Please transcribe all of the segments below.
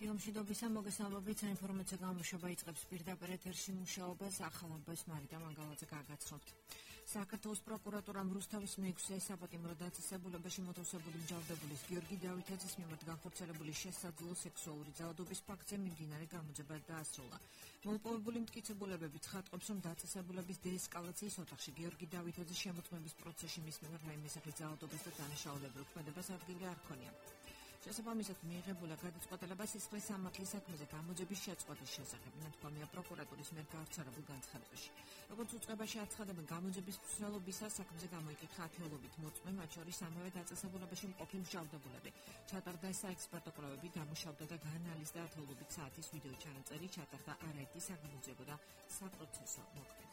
მშვიდობისა მოგესალმებით, საინფორმაციო გამოშვება იწყებს პირდაპირ ეთერში მუშაობას ახალობას მარიდა მანგალაძე გაგაცნობთ. საქართველოს პროკურატურამ რუსთავის მეექვსე საპატიმრო დაწესებულებაში მოთავსებული მჯავდებულის გიორგი დავითაძის მიმართ განხორციელებული შესაძლო სექსუალური ძალადობის ფაქტზე მიმდინარე გამოძიება დაასრულა. მოპოვებული მტკიცებულებები ცხადყოფს, რომ დაწესებულების დეესკალაციის ოთახში გიორგი დავითაძის შემოწმების პროცესში მის მიმართ რაიმე სახის ძალადობას და დანაშაულებრივ ქმედებას ადგილი არ ჰქონია. შესაბამისად მიიღებულა გადაწყვეტილება სისხლის სამართლის საქმეზე გამოძიების შეწყვეტის შესახებ, ნათქვამია პროკურატურის მიერ გავრცელებულ განცხადებაში. როგორც უწყებაში აცხადებენ, გამოძიების მსვლელობისას საქმეზე გამოიკითხა ათეულობით მოწმე, მათ შორის ამავე დაწესებულებაში მყოფი მჟავდებულები. ჩატარდა საექსპერტო კვლევები, დამუშავდა და გაანალიზდა ათეულობით საათის ვიდეო ჩანაწერი, ჩატარდა არაერთი საგამოძიებო და საპროცესო მოქმედება.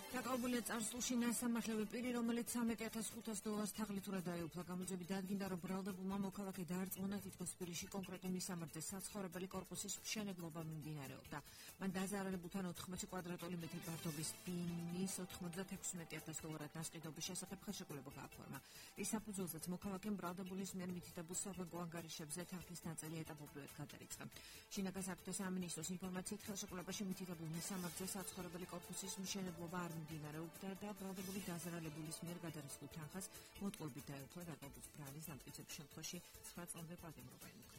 დაკავებულია წარსულში ნასამართლები პირი, რომელიც $13,500 თაღლითურად დაეუფლა. გამოძიებით დადგინდა, რომ ბრალდებულმა მოქალაქე დაარწმუნა, თითქოს თბილისში კონკრეტულ მისამართზე საცხოვრებელი კორპუსის მშენებლობა მიმდინარეობდა. მან დაზარალებულთან 80 კვადრატული მეტრი ფართობის ბინის $96,000 ნასყიდობის შესახებ ხელშეკრულება გააფორმა. ის საფუძველზეც მოქალაქემ ბრალდებულის მიერ მითითებულ საფრანგო ანგარიშებზე თანხის ნაწილი ეტაპობრივად გადარიცხა. შინაგან საქმეთა სამინისტროს ინფორმაციით, ხელშეკრულებაში მითითებულ მისამართზე საცხოვრებელი კორპუსის მშენებლობა არ მიმდინარეობდა და ბრალდებული დაზარალებულის მიერ გადარისხულ თანხას მოტყუებით დაეუფლა. დაკავების ბრალის დამტკიცების შემთხვევაში 9 წლამდე პატიმრობა ემუქრება.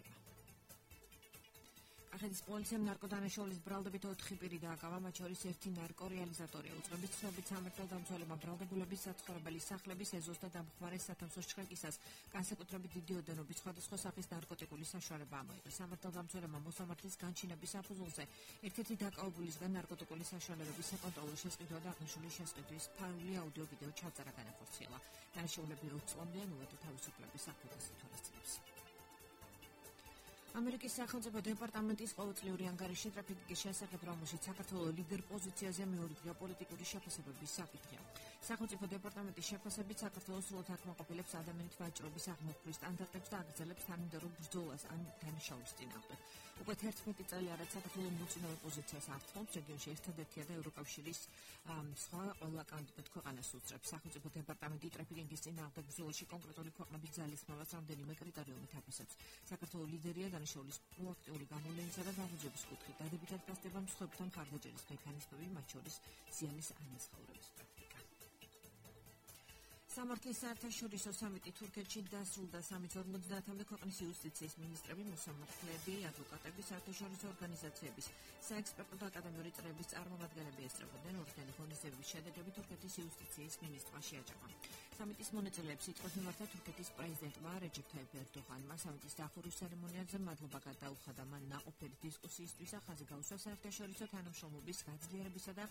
კახეთის პოლიციამ ნარკოდანაშაულის ბრალდებით 4 პირი დააკავა, მათ შორის ერთი ნარკორეალიზატორია. უწყების ცნობით სამართალდამცველებმა ბრალდებულების საცხოვრებელი სახლების ეზოს და დამხმარე სათავსოს ჩხრეკისას განსაკუთრებით დიდი ოდენობის სხვადასხვა სახის ნარკოტიკული საშუალება ამოიღეს. სამართალდამცველებმა მოსამართლის განჩინების საფუძველზე ერთ-ერთი დაკავებულისგან ნარკოტიკული საშუალებების საკონტროლო შესყიდვა და აღნიშნული შესყიდვის ფაილი აუდიო-ვიდეო ჩაწერა განახორციელა. დანაშაულები 8 წლამდე ანულებდა თავისუფლების საქმეთა ითვალისწინებს. ამერიკის სახელმწიფო დეპარტამენტის ყოველწლიური ანგარიში ტრაფიკის შესახებ, რომელშიც საქართველოს ლიდერ პოზიციაზე მეორითია პოლიტიკური შეფასებების საკითხია. სახელმწიფო დეპარტამენტის შეფასებით, საქართველოს სრულად აკმაყოფილებს ადამიანით ვაჭრობის აღმოფხვის სტანდარტებს და აგრძელებს თანმიმდევრულ ბრძოლას ან დანაშაულის წინააღმდეგ. უკვე 11 წელი არად საქართველოს მოწინავე პოზიციას აღწევს, რეგიონში ერთადერთია და ევროკავშირის სხვა ყველა კანდიდატ ქვეყანას უსწრებს. სახელმწიფო დეპარტამენტი ტრაფიკინგის წინააღმდეგ ბრძოლაში კონკრეტული ქვეყნების ძალისხმევას რამდენიმე კრიტერიუმით აფასებს. საქართველოს ლიდერია დანაშაულის პროაქტიული გამოვლენისა და გამოძიების კუთხით. დადებითად გასდება მსხვერპლთა მხარდაჭერის მექანიზმები, მათ შორის ზიანის ანაცხოვრების პრაქტიკა. სამართლის საერთაშორისო სამიტი თურქეთში დასრულდა. 350-მდე ქვეყნის იუსტიციის მინისტრები, მოსამართლეები, ადვოკატები, საერთაშორისო ორგანიზაციების, საექსპერტო და აკადემიური წრეების წარმომადგენლები ესწრებოდნენ. ორდენი ღონისძიების შედეგები თურქეთის იუსტიციის მინისტრმა შეაჯამა. სამიტის მონაწილეებს სიტყვით მიმართა თურქეთის პრეზიდენტმა რეჯეფ თაიფ ერდოღანმა. სამიტის დახურვის ცერემონიაზე მადლობა გადაუხადა მან ნაყოფიერი დისკუსიისთვის და ხაზი გაუსვა საერთაშორისო თანამშრომლობის გაძლიერებისა და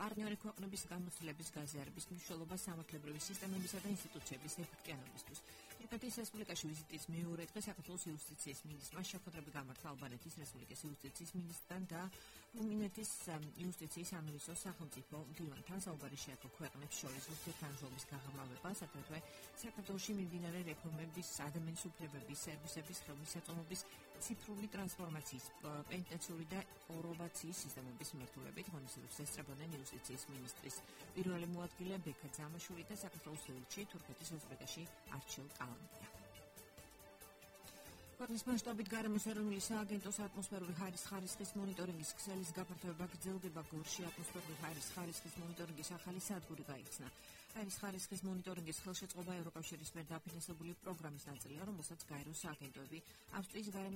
პარტნიორი ქვეყნების გამოცდილების გაზიარების მნიშვნელობას სამართლებრივი სისტემებისა და ინსტიტუციების ეფექტიანობისთვის. თურქეთის რესპუბლიკაში ვიზიტის მეორე დღე საქართველოს იუსტიციის მინისტრმა შეხვედრები გამართა ალბანეთის რესპუბლიკის იუსტიციის მინისტრთან და რუმინეთის იუსტიციის სამინისტროს სახელმწიფო მდივანთან. საუბარი შეეძლო ქვეყნებს შორის ურთიერთთანამშრომლობის გაღრმავებას, აგრეთვე საქართველოში მიმდინარე რეფორმების, ადამიანის უფლებების, სერვისების, ხელმისაწვდომობის, ციფრული ტრანსფორმაციის, პენტენციური და პრობაციის სისტემების მიმართულებით. ღონისძიებებს ესწრებოდნენ იუსტიციის მინისტრის პირველი მოადგილე ბექა ძამაშვილი და საქართველოს თურქეთის რესპუბლიკაში არჩილ კალანდია. ქვეყნის მასშტაბით გარემოს ეროვნული სააგენტოს ატმოსფერული ჰაერის ხარისხის მონიტორინგის ქსელის გაფართოება გრძელდება. გორში ატმოსფერული ჰაერის ხარისხის მონიტორინგის ახალი სადგური გაიხსნა. ჰაერის ხარისხის მონიტორინგის ხელშეწყობა ევროკავშირის მიერ დაფინანსებული პროგრამის ნაწილია, რომელსაც გაეროს სააგენტოები, ავსტრიის გარემოს